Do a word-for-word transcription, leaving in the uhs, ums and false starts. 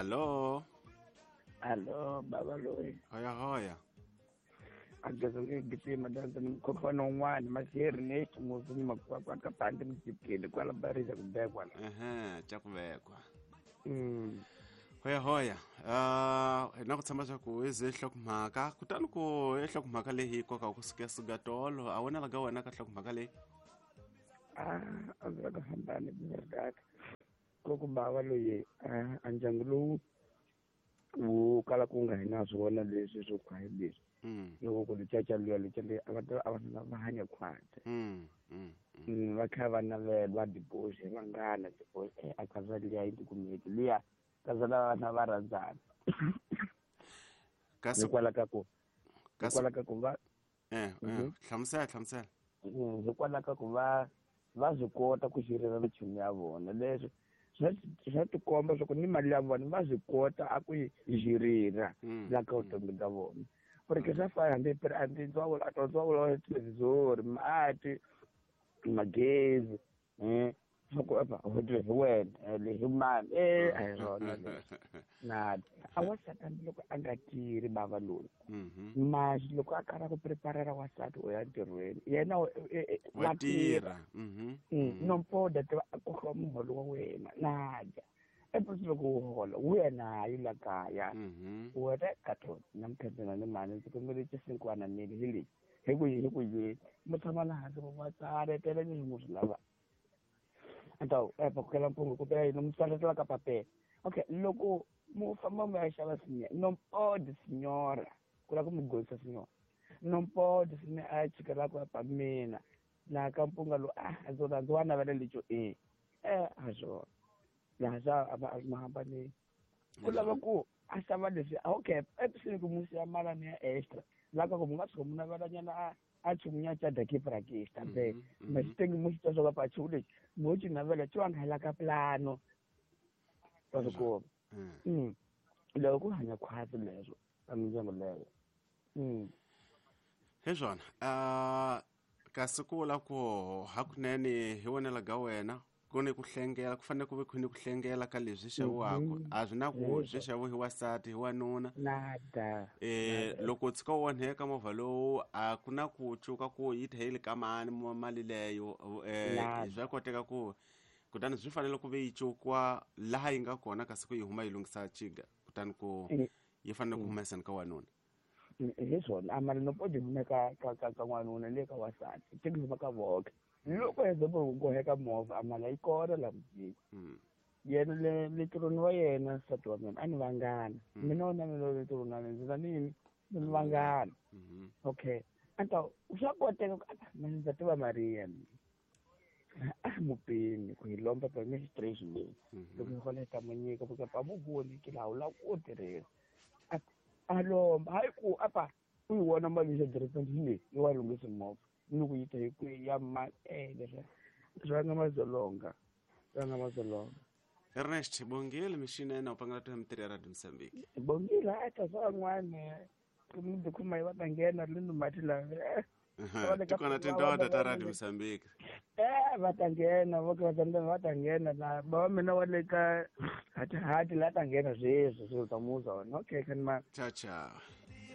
Allo. Allo baba loyi. Hoya hoya. Agazonge giti madanza mkopano un'wana maseri ne muzi makwakwa ka pande mjikile kwala bariza kubekwa la. Ehe, cha kubekwa. Mm. Hoya hoya. Ah, uh, na ku tshama swa ku ize hlokomhaka kutani ku hlokomhaka leyi koka ku suka sugatolo a wona laga wena ka hlokomhaka leyi. Ah, a ndzi ka hambani bya ko ku bava loyi a ndyangu lowu wu kala ku nga hina swona leswi swo khwaye leswi. Loko ku caca luya lexi le a va a va va hanya khwatsi. Mm. Mm, va kha va navela va divorce vanghana divorce a kaza liya yi tikumeki liya kaza la vana va rhandzana. Kasi hikwalaho ka ku hikwalaho ka ku va eh eh hlamusela hlamusela. Hikwalaho ka ku va va swi kota ku xirira michumu ya vona leswi swa swa tikomba swa ku ni mali ya vona va swi kota a ku yi xirira la ka vutomi bya vona. Porque swa fana hambi hambi ndzawulo a ndzawulo wa televhizori mati magezi eh swa ku apa hi wena le hi mani eh a hi swona leswi na a wansati hambi loko a nga tirhi bava loyi masi loko a karhi ku preparela wansati u ya ntirhweni yena wa tirha nompoda tiva a kokiwa muholo wa wena na dya epusi loko u hola wu ya nayo la kaya u reka to namuntlha ni mani ndzi kombela xisinkwana mili hi lexi hi ku hi ku yini mi tshama la hansi va tsaletela leswi mu swi lavaka anta epa kukela mpungu ku pela yini mi tsaletela ka papela okay loko mu famba mu ya xava sinya non pode signora ku lava ku mi golisa signora non pode signora a chikela ku apa mina laha ka mpunga lowu a ndzi ndzi wa navela lexo e eh a swona laha swa a va ma hambanile ku lava ku a xava leswi okay episini ku musi ya malani ya extra laha ka ku mu nga tshuka mu navelanyana a a chumunya cha dakiparakista be masitengi muxita swa ka pachu lexi mo ci navela ci wanga la ka plano wa swi kuma mm loko ku hanya khwatsi leswo ka mindyangu leyo mm hi swona a kasi ku vula ku hakunene hi vonela ga wena ku ni ku hlengela ku fanele ku ve ku ni ku hlengela ka leswi xaviwaka a swi na ku swi xaviwa hi wansati hi wanuna nada eh loko u tshuka u onheka movha lowu a ku na ku cuka ku yi tlhela yi le ka mani mali leyo eh swa koteka ku kutani swi fanele ku ve yi cukiwa laha yi nga kona kasi ku yi huma yi lunghisa chiga kutani ku yi fanele ku humeseni ka wanuna hi swona a mali no podi hume ka ka ka ka n'wanuna le ka wansati ti huma ka voke loko heza ku goheka movha a mali yi kona la mujini yena le le tirhweni wa yena nsati wa mina a ni vangana mina wona mina le tirhweni wa mina ndzi na nini ni vangana okay anta swa koteka ku mina ndza tiva Maria a mupini ku hi lomba pa mi stress leyi loko hi hola ta mu nyika ku pa mu voni ki laha u lava ku tirhela a lomba hayi ku apa u yi vona mali ya direpeni leyi yi wa lunghisa movha ni ku yi ta hi ku ya ma eh leswi swi nga mazolonga swi nga mazolonga Ernest bongile mixinene u pangela to mitirho ya Radio Mozambique bongile a ta swa van'wana ku kuma yi va ta nghena le no mati lava tikona tindoda ta Radio Mozambique eh va ta nghena vo ka va va ta nghena la bava mina wa le ka hati hati la ta nghena sweswi swilo ta muza wona okay kan ma ciao ciao.